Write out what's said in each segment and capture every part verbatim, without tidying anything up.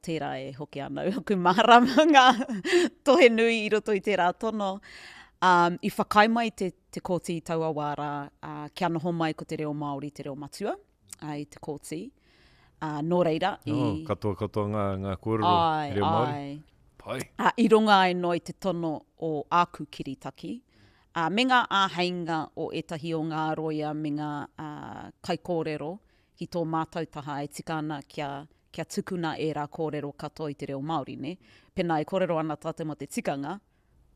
tērā e hoki ana aku mārama ngā tohe nui i roto i tērā tono. Um, i whakaae mai te, te kōti i taua wā rā, uh, kia noho mai ko te reo Māori te reo matua uh, i te kōti. Uh, nō reira, i... Oh, katoa katoa ngā, ngā kōrero Ai, reo Māori. ai. Pai. Uh, i runga ai noa i te tono o āku kiritaki, uh, me ngā āheinga o ētahi o ngā roia me ngā uh, kaikōrero ki tō mātau taha e tika ana kia, kia tukuna ērā kōrero katoa i te reo Māori, ne? Pēnā e kōrero ana tātou mō te tikanga,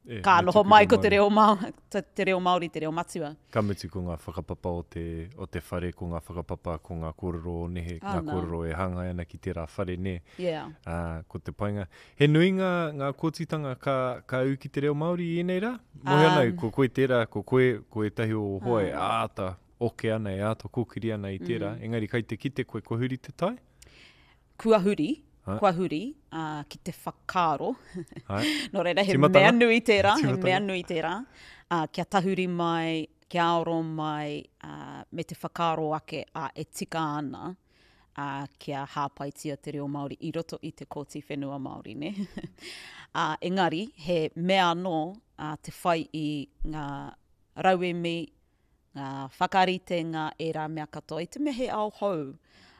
E, ka me noho tuku mai reo ko te Māori. reo Māori, te, te reo Māori, te reo matua. Ka mutu ko ngā whakapapa o te, o te whare, ko ngā whakapapa, ko ngā kōrero o nehe, ngā Ana. kōrero e hāngai ana ki tērā whare, nē. Yeah. Ā, ko te painga. He nui ngā, ngā kōtitanga ka, ka ū ki te reo Māori i ēnei rā? Mohi ana, Um, ko koe tērā, ko koe, ko ētahi o hoa e Ah. āta oke ana, e āta kōkiri ana i tērā. Mm. Engari kai te kite koe, kua huri te tai? Kua huri, Ai. kua huri, uh, ki te whakaaro. Ai. Nō reira, he Tīmatanga. mea nui tērā, he Tīmatanga. mea nui tērā. Uh, kia tahuri mai, kia aro mai, uh, me te whakaaro ake uh, e tika ana, uh, kia hāpaitia te reo Māori i roto i te Kōti Whenua Māori, ne? uh, engari, he mea anō uh, te whai i ngā rauemi, ngā whakaritenga, ērā mea katoa, i te mea he ao hou.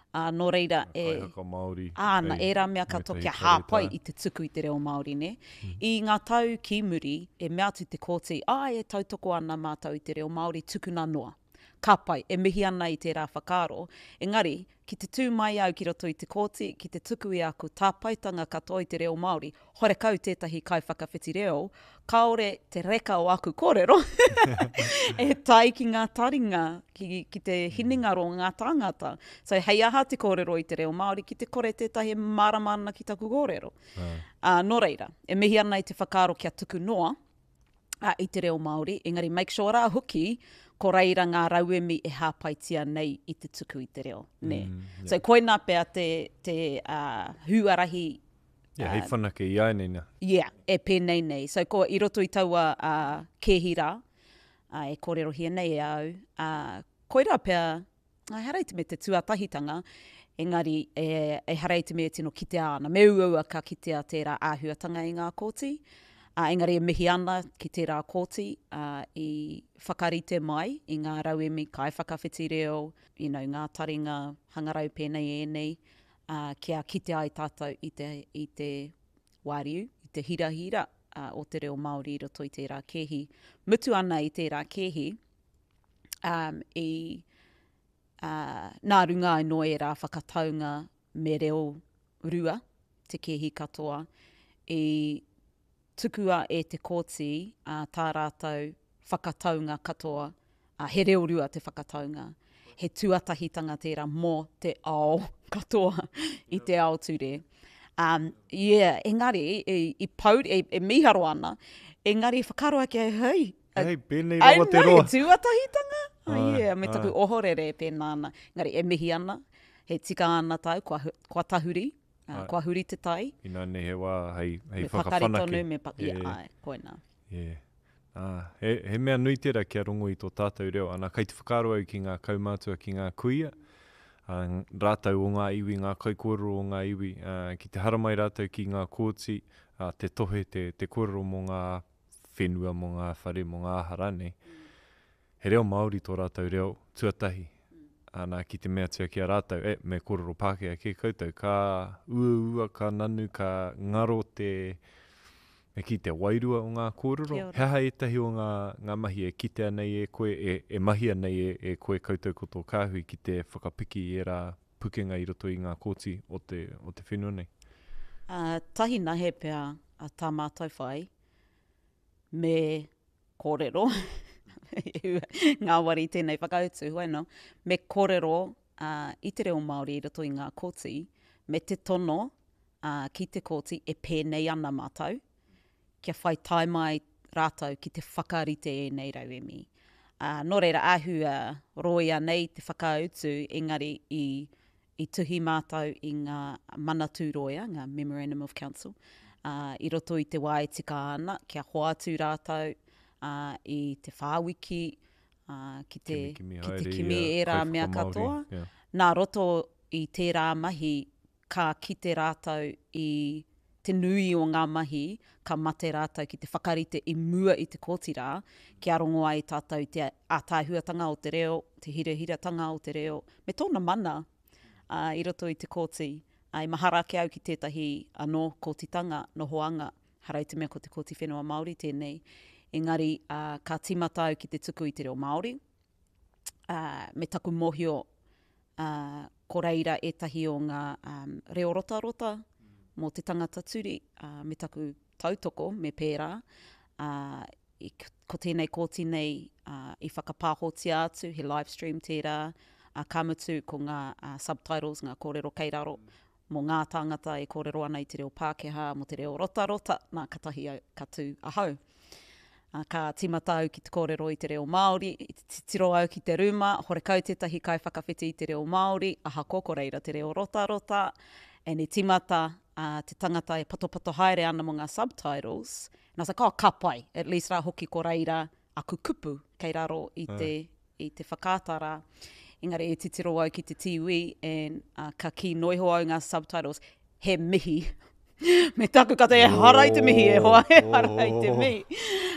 Uh, nō reira, Ngā e... kaihaka Māori. Āna, hei ērā mea katoa wētahi kia hāpai karetā. i te tuku i te reo Māori, ne? I ngā tau ki muri, e mea atu te kōti, ai, e tautoko ana mātou i te reo Māori, tukuna noa. Ka pai, e mihi ana i tērā whakaaro. Engari, ki te tū mai au ki roto i te kōti, ki te tuku i aku tāpaetanga katoa i te reo Māori, horekau tētahi kaiwhakawhiti reo, kāore te reka o aku kōrero e tae ki ngā taringa, ki, ki te hinengaro o ngā tāngata. So, hei aha te kōrero i te reo Māori, ki te kore tētahi mārama ana ki taku kōrero. Ah. Uh, nō reira, e mihi ana i te whakaaro kia tuku noa uh, i te reo Māori, engari make sure rā hoki, ko reira ngā rauemi e hāpaitia nei i te tuku i te reo. Nē. Mm, yeah. So, koinā pea te, te uh, huarahi Yeah, hei whanake i ai nei nā. Yeah, e pēnei nei. So, ko i roto i taua uh, kēhi rā, uh, e kōrerohia nei e au, uh, koirā pea, ehara i te mea te tuatahitanga, engari e, ehara i te mea tino kitea ana. Me uaua ka kitea tērā āhuatanga i ngā kōti, uh, engari e mihi ana ki tērā kōti uh, i whakarite mai i ngā rauemi kaiwhakawhiti reo, you know, ngā taringa hangarau pēnei ēnei, uh, kia kite ai tātou i te, i te wāriu, i te hirahira uh, o te reo Māori i roto i tērā kēhi. Mutu ana i tērā kēhi, um, i uh, nā runga ai no ērā whakataunga me reo rua, te kēhi katoa, i tukua e te kōti uh, tā rātou whakataunga katoa, uh, he reo rua te whakataunga. He tuatahitanga tērā mō te ao katoa i te ao ture. Um, yeah, engari, i, i pau, e, e mīharo ana, engari whakaaro ake, hei, Hei, pēnei ai rawa te nei, roa. tuatahitanga? Oh, Ai, yeah, me taku ai. ohorere e pēnā ana. Engari, e mihi ana, he tika ana tau, kua, kua tahuri, uh, Ai. kua huri te tai. Inā nei he wā hei, hei Me pakari whakawhanake. tonu, me pa yeah, Yeah. ai, koinā. Yeah. Ah, he, he mea nui tērā kia rongo i tō tātou reo. Ana, kai te whakaaro au ki ngā kaumātua, ki ngā kuia, ah, rātou o ngā iwi, ngā kaikōrero o ngā iwi, ah, ki te haramai rātou ki ngā kōti, ah, te tohe, te, te kōrero mō ngā whenua, mō ngā whare, mō ngā aha rānei. He reo Māori tō rātou reo tuatahi. Ana, ki te meatia ki a rātou, e, me kōrero Pākehā ki koutou, ka uaua, ka nanu, ka ngaro te, me ki te wairua o ngā kōrero. Kia ora. He aha ētahi o ngā, ngā mahi e kitea nei e koe, e, e mahia nei e, e koe koutou ko tō kāhui ki te whakapiki i ērā pukenga i roto i ngā kōti o te, o te whenua nei? Uh, tahi nahe pea a tā mātou whai, me kōrero, ngāwari tēnei whakautu, hoi no, me kōrero uh, i te reo Māori i roto i ngā kōti, me te tono uh, ki te kōti e pēnei ana mātou, kia whai tae mai rātou ki te whakarite ēnei rauemi. Uh, nō reira, āhua roia nei te whakautu, engari i, i tuhi mātou i ngā manatū roia, ngā Memorandum of Council, uh, i roto i te wā e tika ana, kia hoatu rātou uh, i te whāwiki, uh, ki te, Kimi, kimi ki te haere kimi i a ērā mea kaiwhakamāori, katoa. yeah. Nā roto i tērā mahi, ka kite rātou i te nui o ngā mahi, ka mate rātou ki te whakarite i mua i te kōti rā, kia rongo ai tātou te ātaahuatanga o te reo, te hirahiratanga o te reo, me tōna mana uh, i roto i te kōti. Uh, i mahara ake au ki tētahi anō kōtitanga, nohoanga, hara i te mea ko te Kōti Whenua Māori tēnei, engari uh, ka tīmata au ki te tuku i te reo Māori, uh, me taku mōhio uh, ko reira ētahi o ngā um, reo rotarota mō te tangata turi, uh, me taku tautoko, me pērā. Uh, i, ko tēnei kōti nei uh, i whakapāhotia atu, he live stream tērā, uh, ka mutu ko ngā uh, subtitles, ngā kōrero kei raro, mō ngā tāngata e kōrero ana i te reo Pākehā, mō te reo rotarota, nā katahi au, ka tū ahau. Uh, ka tīmata au ki te kōrero i te reo Māori, i te titiro au ki te rūma, horekau tētahi kaiwhakawhiti i te reo Māori, ahakoa ko reira te reo rotarota, and i tīmata uh, te tangata e patopato haere ana mō ngā subtitles, and I was like, oh, ka pai, at least rā hoki ko reira aku kupu kei raro i te, i te whakaata rā. Engari e titiro au ki te T V and uh, ka kī noiho au ngā subtitles, he mihi. Me taku kata, e hara i te mihi, e hoa, e hara i te mihi.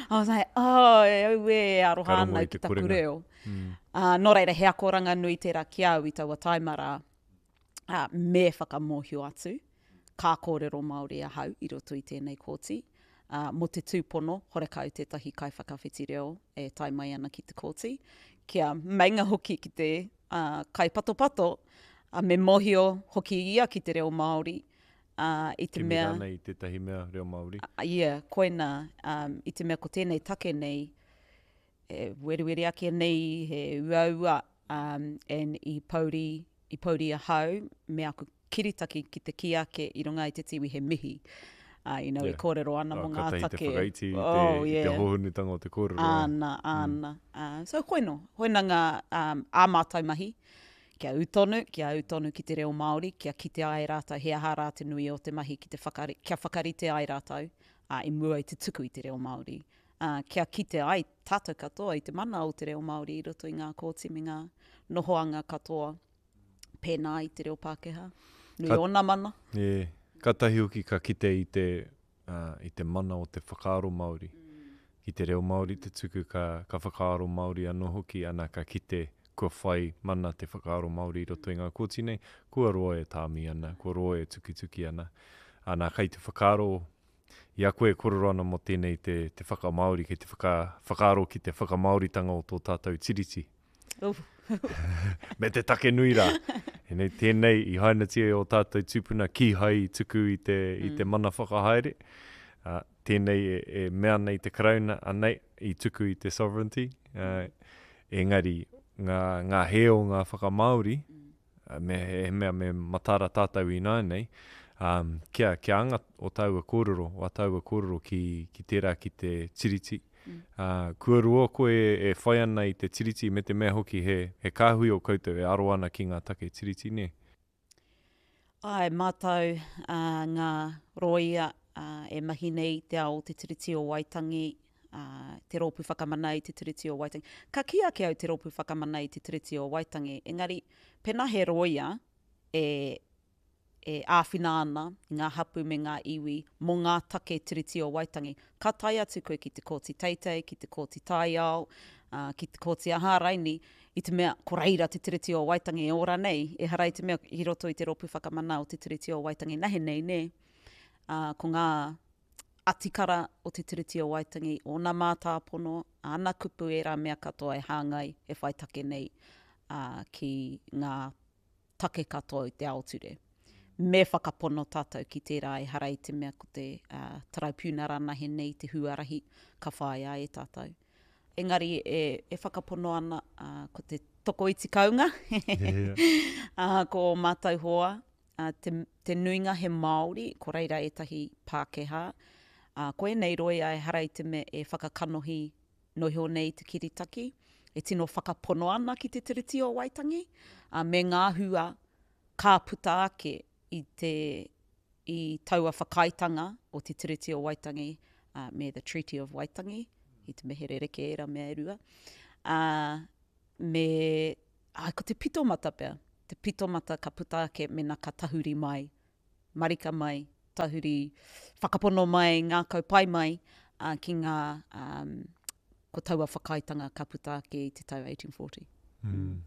I was like, oh, e au e aroha ana ki taku reo. Mm. Uh, nō reira, he akoranga nui tērā ki au i taua taima rā. Uh, me whakamōhio atu, ka kōrero Māori ahau i roto i tēnei kōti. Uh, mō te tūpono, horekau tētahi kaiwhakawhiti reo e tae mai ana ki te kōti. Kia meinga hoki ki te uh, kaipatopato, uh, me mōhio hoki ia ki te reo Māori. Uh, i te Kimi mea... rānei i tētahi mea reo Māori. Uh, yeah, koina, um, i te mea ko tēnei take nei, e weriweri ake nei, he uaua, um, and i pouri, i pouri ahau, me aku kiritaki ki te kī ake i runga i te tiwi he mihi. Uh, you know, yeah. e kōrero ana oh, mō ngā take. Te Te whakaiti i te, oh, yeah. i te hōhonutanga o te kōrero. Āna, āna. Mm. Uh, so koino, hoina ngā um, ā mātou mahi, kia ū tonu, kia ū tonu ki te reo Māori, kia kite ai rātou, he aha rā te nui o te mahi, ki te whakari, kia whakarite ai rātou uh, i mua i te tuku i te reo Māori. Uh, kia kite ai tātou katoa i te mana o te reo Māori i roto i ngā kōti me ngā nohoanga katoa, pēnā i te reo Pākehā. Nui ka, ōna mana. Yeah. Ka tahi hoki ka kite i te, uh, i te mana o te whakaaro Māori. Mm. Ki te reo Māori te tuku ka, ka whakaaro Māori anō hoki, ana ka kite kua whai mana te whakaaro Māori i roto i ngā kōti nei, kua roa e tāmi ana, kua roa e tukituki ana. Ana kai te whakaaro, i a koe e kōrero ana mō tēnei te, te whakamāori, kei te whaka, whakaaro ki te whakamāoritanga o tō tātou tiriti. Uf. Me te take nui rā. Enei, tēnei i hainatia e o tātou tūpuna kīhai i tuku i te, mm. i te mana whakahaere. Uh, tēnei e, e mea nei te Karauna, anei, i tuku i te sovereignty. Uh, engari, ngā, ngā hē o ngā whakamāori, uh, me, he mea me matara tātou ināianei, um, kia, kia anga o tāua kōrero, o a tāua kōrero ki, ki tērā ki te tiriti. Mm. Uh, kua roa koe e whai ana i te tiriti me te mea hoki he, he kāhui o koutou e aro ana ki ngā take tiriti, nē? Ai, mātou uh, ngā rōia uh, e mahi nei te ao te Tiriti o Waitangi, uh, te rōpū whakamana i te Tiriti o Waitangi. Ka kī ake au te rōpū whakamana i te Tiriti o Waitangi, engari pēnā he rōia e, e āwhina ana i ngā hapu me ngā iwi mō ngā take Tiriti o Waitangi. Ka tae atu koe ki te kōti teitei, ki te kōti taiao, uh, ki te kōti aha raini, i te mea ko reira te Tiriti o Waitangi e ora nei, e hara i te mea i roto i te rōpū whakamana o te Tiriti o Waitangi nahe nei, nē. Uh, ko ngā atikara o te Tiriti o Waitangi, ōna mātāpono, āna kupu e rā mea katoa e hāngai, e whai take nei uh, ki ngā take katoa i te ao ture. Me whakapono tātou ki tērā e hara i te mea ko te uh, taraipiunara nahe nei te huarahi ka whāia e tātou. Engari e, e whakapono ana uh, ko te tokoiti kaunga, yeah. uh, ko o mātou hoa, uh, te, te nuinga he Māori, ko reira ētahi Pākehā. Uh, ko ēnei roia e hara i te mea e whakakanohi noho nei te kiritaki, e tino whakapono ana ki te Tiriti o Waitangi, uh, me ngā hua ka puta ake i te i taua whakaaetanga o te Tiriti o Waitangi uh, me the Treaty of Waitangi, i te mehere reke era mea e rua. Uh, me, ai, ko te pitomata pea, te pitomata ka puta ake mena ka tahuri mai marika mai, tahuri whakapono mai, ngākau pai mai uh, ki ngā, um, ko taua whakaaetanga ka puta ake i te tau eighteen forty. Mm.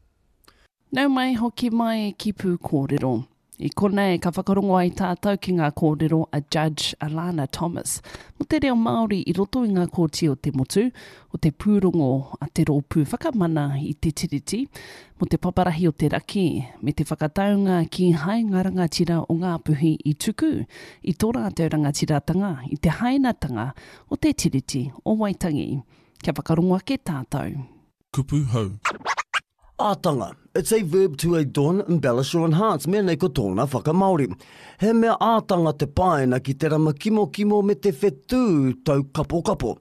Nau mai hoki mai ki Pūkōrero. I konei ka whakarongo ai tātou ki ngā kōrero a Judge Alana Thomas mō te reo Māori i roto i ngā kōti o te motu, o te pūrongo a te rōpū whakamana i te tiriti, mō te paparahi o te raki, me te whakataunga ki hai ngā rangatira o Ngāpuhi i tuku, i tō rātou rangatiratanga, i te hainatanga o te tiriti o Waitangi. Kia whakarongo ake tātou. Kupu hou. Ātanga. It's a verb to adorn, embellish or enhance, mea nei ko tōna whakamāori. He mea ātanga te paina ki te rama kimokimo me te whetū tau kapokapo.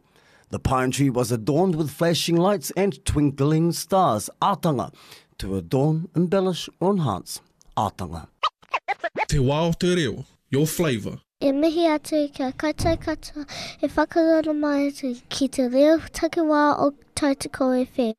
The pine tree was adorned with flashing lights and twinkling stars. Ātanga. To adorn, embellish or enhance. Ātanga. Te wā o te reo, your flavour. E mihi atu kia koutou katoa e whakarongo mai atu ki te reo takiwā o Tautoko F M.